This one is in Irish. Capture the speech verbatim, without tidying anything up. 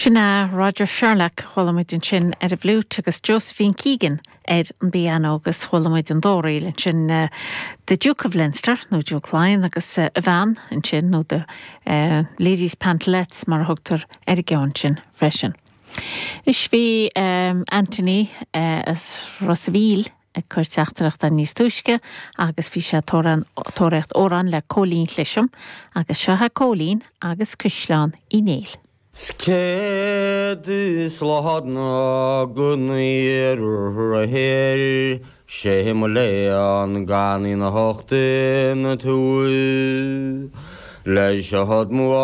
Sin é Roger Sherlock chuala muid ansin ar an bhfliúit agus Josephine Keegan ar an bpianó agus chuala muid an dá ríl ansin uh, The Duke of Leinster nó Duke Laighean agus uh, a bhean ansin nó the uh, Ladies Pantalettes mar a thugtar ar an gceann sin freisin. Is bhí um, Anthony uh, as Ros an Mhíl ag cur teachtaireachta níos túisce agus bhí sé tóraíocht amhrán le Cóilín Cliseam agus seo Cóilín agus Caisleán Uí Néill. Céad is lá go héir sé mo léan gan na hochtain na tú leis se had mu